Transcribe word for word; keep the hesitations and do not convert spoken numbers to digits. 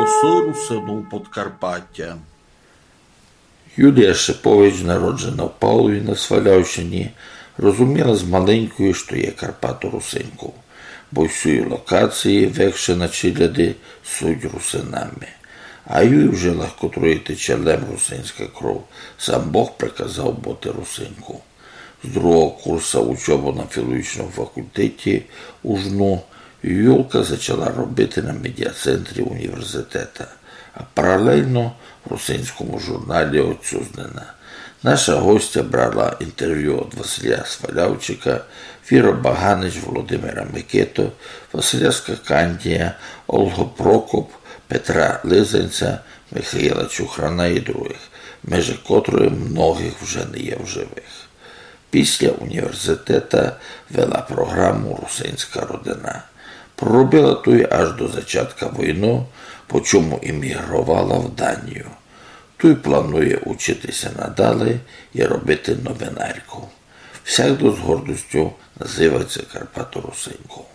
Голосы русинув Подкарпатя. Юлія Шипович, народжена в Павлові на Свалявщині, розуміла з маленької, што є карпаторусинков, бо всюї локації, векши на челяди, суть русинами. А юй в жилах котрої тече лем русинська кров, сам Бог приказав быти русинков. З другого курса учобы на філологічному факультеті у ЖНУ Юлка зачала робити на медіацентрі універзитета, а паралельно в русинському журналі «Отцюзнина». Наша гостя брала інтервю од Василя Свалявчика, Віра Баганич, Володимира Микиту, Василя Скакандія, Олгу Прокоп, Петра Лизанця, Михаїла Чухрана і другых, межи котрых многых вже не є в живых. Після універзитета вела програму «Русинська родина». Проробила туй аж до зачатка войны, по чому емігровала в Данію. Туй планує учити ся надале і робити новинарку. Всягда з гордостю называть ся карпаторусинков.